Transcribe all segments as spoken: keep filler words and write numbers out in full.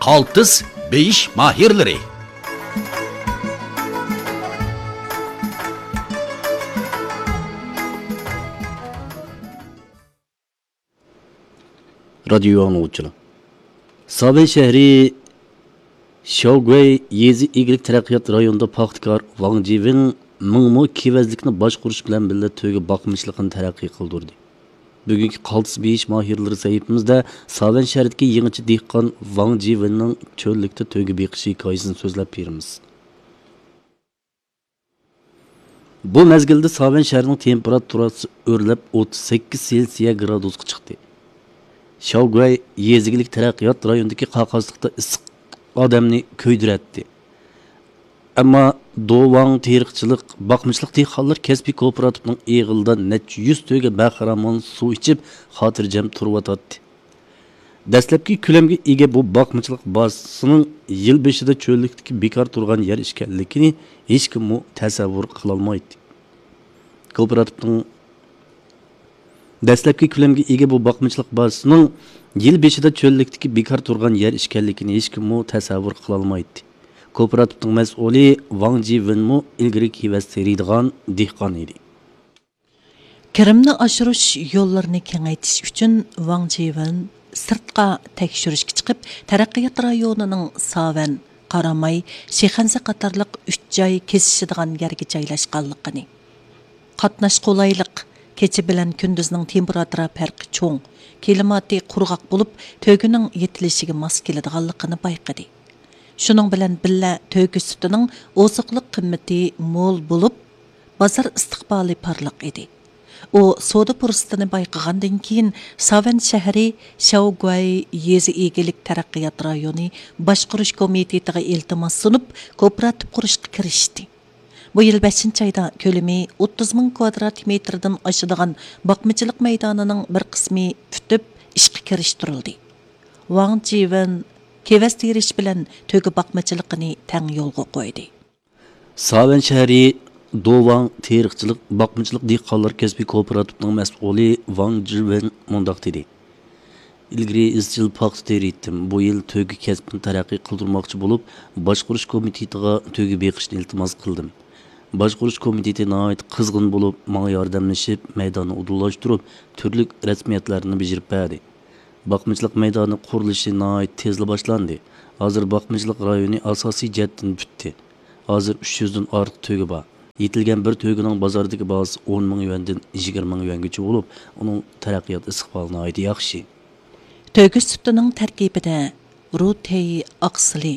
قالتىس بېيىش ماھىرلىرى. رادىيو ئاڭلىغۇچىلار، ساۋەن شەھىرى شياۋگۇەي يېزا ئىگىلىك تەرەققىيات رايونىدا پاختىكار ۋاڭ جىۋېن مىڭ مو كېۋەزلىكنى باشقۇرۇش بىلەن بىللە تۆگە باقمىچىلىقىنى تەرەققىي قىلدۇردى. بۈگۈنكى قالتىس بېيىش ماھىرلىرى سەھىپىمىزدە ساۋەن شەھىرىدىكى يېڭىچە دېھقان ۋاڭ جىۋېننىڭ چۆللۈكتە تۆگە بېقىش ھېكايىسىنى سۆزلەپ بېرىمىز. بۇ مەزگىلدە ساۋەن شەھىرىنىڭ تېمپېراتۇراسى ئۆرلەپ، ئوتتۇز سەككىز سېلسىيە گرادۇسقا چىقتى. شياۋگۇەي يېزا ئىگىلىك تەرەققىيات رايونىدىكى قاقاسلىقتا ئىسسىق ئادەمنى كۆيدۈرەتتى. ئەمما دۇۋاڭ تېرىقچىلىق، باقمىچىلىق دېھقانلار كەسپىي كوپىراتىپنىڭ ئېغىلىدا نەچچە يۈز تۆگە بەخىرامان سۇ ئىچىپ، خاتىرجەم تۇرۇۋاتاتتى. دەسلەپكى كۆلەمگە ئىگە بۇ باقمىچىلىق بازىسىنىڭ يىل بېشىدا چۆللۈكتىكى بىكار تۇرغان يەر ئىكەنلىكىنى ھېچكىممۇ تەسەۋۋۇر قىلالمايتتى. كوپىراتىپنىڭ دەسلەپكى كۆلەمگە ئىگە بۇ باقمىچىلىق بازىسىنىڭ يىل بېشىدا چۆللۈكتىكى بىكار تۇرغان يەر ئىكەنلىكىنى ھېچكىممۇ تەسەۋۋۇر قىلالمايتتى. كوپىراتىپنىڭ مەسئۇلى ۋاڭ جىۋېنمۇ ئىلگىرى كېۋەز تېرىيدىغان دېھقان ئىدى. كىرىمنى ئاشۇرۇش يوللىرىنى كېڭەيتىش ئۈچۈن ۋاڭ جىۋېن سىرتقا تەكشۈرۈشكە چىقىپ، تەرەققىيات رايونىنىڭ ساۋەن، قاراماي، شىخەنزە قاتارلىق ئۈچ جاي كېسىشىدىغان يەرگە جايلاشقانلىقىنى، قاتناش قولايلىق، كېچە بىلەن كۈندۈزنىڭ تېمپېراتۇرا پەرقى چوڭ، كىلىماتى قۇرغاق بولۇپ، تۆگىنىڭ يېتىلىشىگە ماس كېلىدىغانلىقىنى بايقىدى. شۇنىڭ بىلەن بىللە، تۆگە سۈتىنىڭ ئوزۇقلۇق قىممىتى مول بولۇپ، بازار ئىستىقبالى پارلاق ئىدى. ئۇ سودا پۇرسىتىنى بايقىغاندىن كېيىن، ساۋەن شەھىرى شياۋگۇەي يېزا ئىگىلىك تەرەققىيات رايونى باشقۇرۇش كومىتېتىغا ئىلتىماس سۇنۇپ، كوپىراتىپ قۇرۇشقا كىرىشتى. بۇ يىل بەشىنچى ئايدا كۆلىمى ئوتتۇز مىڭ كۋادرات مېتىردىن ئاشىدىغان باقمىچىلىق مەيدانىنىڭ بىر قىسمى پۈتۈپ، ئىشقا كىرىشتۈرۈلدى. ۋاڭ جىۋېن كېۋەز تېرىش بىلەن تۆگە باقمىچىلىقىنى تەڭ يولغا قويدى. ساۋەن شەھىرى دۇۋاڭ تېرىقچىلىق، باقمىچىلىق دېھقانلار كەسپىي كوپىراتىپىنىڭ مەسئۇلى ۋاڭ جىۋېن مۇنداق دېدى: ئىلگىرى ئىزچىل پاختا تېرىيتتىم. بۇ يىل تۆگە كەسپىنى تەرەققىي قىلدۇرماقچى بولۇپ، باشقۇرۇش كومىتېتىغا تۆگە بېقىشنى ئىلتىماس قىلدىم. باشقۇرۇش كومىتېتى ناھايىتى قىزغىن بولۇپ، ماڭا ياردەملىشىپ، مەيداننى ئۇدۇللاشتۇرۇپ، تۈرلۈك رەسمىيەتلەرنى بېجىرىپ بەردى. باقمىچىلىق مەيدانى قۇرۇلۇشى ناھايىتى تېزلا باشلاندى. ھازىر باقمىچىلىق رايونى ئاساسىي جەھەتتىن پۈتتى. ھازىر ئۈچ يۈزدىن ئارتۇق تۆگە بار. يېتىلگەن بىر تۆگىنىڭ بازاردىكى باھاسى ئون مىڭ يۈەندىن يىگىرمە مىڭ يۈەنگىچە بولۇپ، ئۇنىڭ تەرەققىيات ئىستىقبالى ناھايىتى ياخشى. تۆگە سۈتىنىڭ تەركىبىدە رۇتېي ئاقسىلى،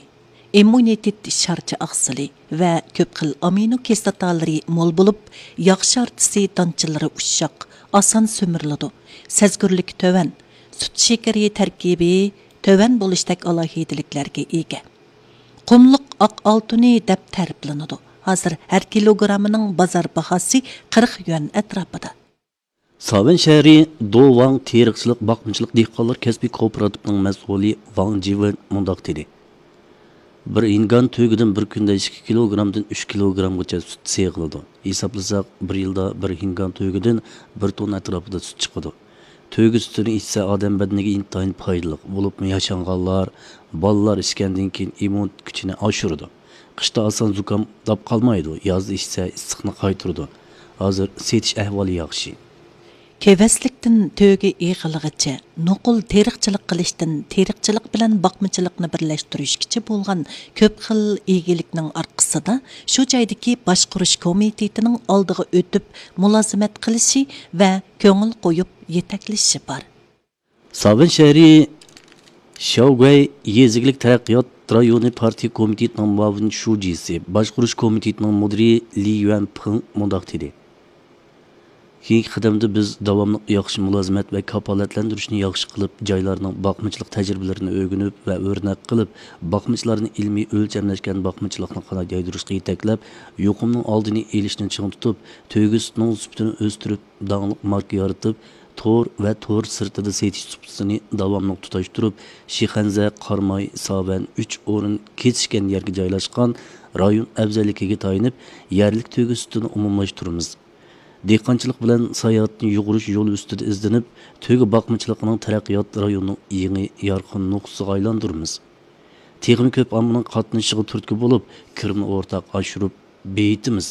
ئىممۇنىتېت شارچە ئاقسىلى ۋە كۆپ خىل ئامىنو كىسلاتالىرى مول بولۇپ، ياغ شارچىسى دانچىلىرى ئۇششاق، ئاسان سۈمۈرۈلىدۇ، سەزگۈرلۈكى تۆۋەن، سۈت شېكىرى تەركىبى تۆۋەن بولۇشتەك ئالاھىدىلىكلەرگە ئىگە. قۇملۇق ئاق ئالتۇنى دەپ تەرىپلىنىدۇ. ھازىر ھەر كىلوگراممىنىڭ بازار باھاسى قىرىق يۈەن ئەتراپىدا. ساۋەن شەھىرى دۇۋاڭ تېرىقچىلىق باقمىچىلىق دېھقانلار كەسپىي كوپىراتىپىنىڭ مەسئۇلى ۋاڭ جىۋېن مۇنداق دېدى: بىر ھىنگان تۆگىدىن بىر كۈندە ئىككى كىلوگرامدىن ئۈچ كىلوگرامغىچە سۈت سېغىلىدۇ. ھېسابلىساق، بىر يىلدا بىر ھىنگان تۆگىدىن بىر توننا ئەتراپىدا سۈت چىقىدۇ. تۆگە سۈتىنى ئىچسە، ئادەم بەدىنىگە ئىنتايىن پايدىلىق، بولۇپمۇ ياشانغانلار، بالىلار ئىچكەندىن كېيىن ئىممۇن كۈچىنى ئاشۇرىدۇ. قىشتا ئاسان زۇكام داپ قالمايدۇ، يازدا ئىچسە، ئىسسىقنى قايتۇرىدۇ. ھازىر سېتىش ئەھۋالى ياخشى. كېۋەزلىكتىن تۆگە ئېغىلىغىچە نوقۇل تېرىقچىلىق قىلىشتىن تېرىقچىلىق بىلەن باقمىچىلىقنى بىرلەشتۈرۈشكىچە بولغان كۆپ خىل ئىگىلىكنىڭ ئارقىسىدا شۇ جايدىكى باشقۇرۇش كومىتېتىنىڭ ئالدىغا ئۆتۈپ مۇلازىمەت قىلىشى ۋە كۆڭۈل قويۇپ يېتەكلىشى بار. ساۋەن شەھىرى شياۋگۇەي يېزا ئىگىلىك تەرەققىيات رايونى پارتىيە كومىتېتىنىڭ مۇئاۋىن شۇجىسى، باشقۇرۇش كومىتېتىنىڭ مۇدىرى لى يۈەنپىڭ مۇنداق دېدى: كېيىنكى قەدەمدە بىز داۋاملىق ياخشى مۇلازىمەت ۋە كاپالەتلەندۈرۈشنى ياخشى قىلىپ، جايلارنىڭ باقمىچىلىق تەجرىبىلىرىنى ئۆگىنىپ ۋە ئۆرنەك قىلىپ، باقمىچىلارنى ئىلمىي ئۆلچەملەشكەن باقمىچىلىقنى قانات يايدۇرۇشقا يېتەكلەپ، يۇقۇمنىڭ ئالدىنى ئېلىشنى چىڭ تۇتۇپ، تۆگە سۈتىنىڭ سۈپىتىنى ئۆستۈرۈپ، داڭلىق ماركا يارىتىپ، تور ۋە تور سىرتىدا سېتىش سۇپىسىنى داۋاملىق تۇتاشتۇرۇپ، شىخەنزە، قاراماي، ساۋەن ئۈچ ئورۇن كېسىشكەن يەرگە جايلاشقان رايون ئەۋزەللىكىگە تايىنىپ، يەرلىك تۆگە سۈتىنى ئومۇملاشتۇرىمىز. دېھقانچىلىق بىلەن ساياھەتنى يۇغۇرۇش يولى ئۈستىدە ئىزدىنىپ، تۆگە باقمىچىلىقىنىڭ تەرەققىيات رايونىنىڭ يېڭى يارقىن نۇقتىسىغا ئايلاندۇرىمىز. تېخىمۇ كۆپ ئاممىنىڭ قاتنىشىشىغا تۈرتكە بولۇپ، كىرىمنى ئورتاق ئاشۇرۇپ بېيىتىمىز.